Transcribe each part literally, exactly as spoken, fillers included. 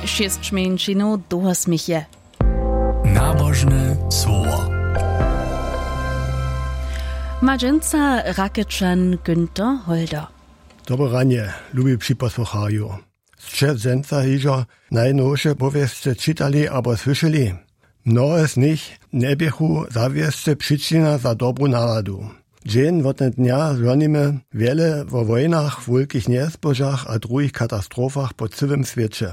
Šěsć mjeńšinow dołho směch je. Nabožne słowo. Ma dźensa Rakečan Günther Holder. Dobre ranje, lubi připosłucharju. Sće dźensa hižo najnowše powěsće čitali abo słyšeli? Mnohe z nich njeběchu zawěsće přičina za dobru naladu. Dźeń wotnednja žonimy wjele wo wojnach, wulkich njezbožach a druhich katastrofach po cyłym swěće.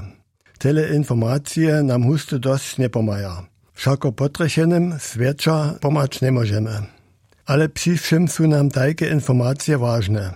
Tele informacije nam husto dosć njepomhaja. Wšako potrjechenym swjeća pomhać njemóžemy. Ale při wšěm su nam tajke informacije wažne.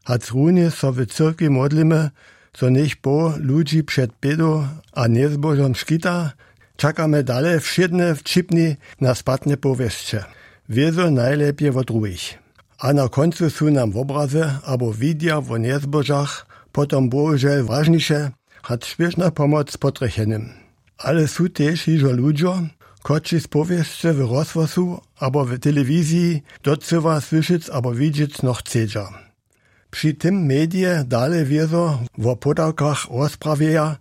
Hač runje so w cyrkwi modlimy, zo njech Bóh ludźi před bědu a njezbožom škita, čakamy dale wšědne wćipni na spatne powěsće, wězo najlěpje wot druhich. A na kóncu su nam wobrazy abo widja wo njezbožach potom bohužel wažniše hač spěšna pomoc potrjechenym. Ale su tež hižo ludźo, kotřiž z powěsće w rozhłosu abo w telewiziji docyła słyšec abo widźec nochcedźa. Při tym medije dale wězo wo podawkach rozprawjeja,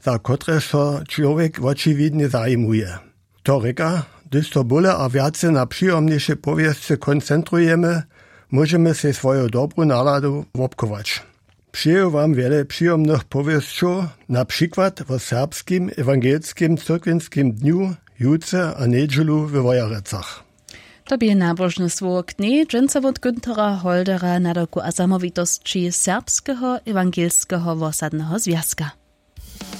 za kotrež so čłowjek wočiwidnje zajimuje. To rěka, hdyž so bóle a wjace na přijomnješe powěsće koncentrujemy, móžemy sej swoju dobru naladu wobchować. Přeju wam wjele přijomnych powěsćow, na přikład wo serbskim ewangelskim cyrkwinskim dnju jutře a njedźelu we Wojerecach. To bě nabožne słowo k njej dźensa wot Günthera Holdera, nadawku a zamołwitosći Serbskeho ewangelskeho wosadneho zwjazka.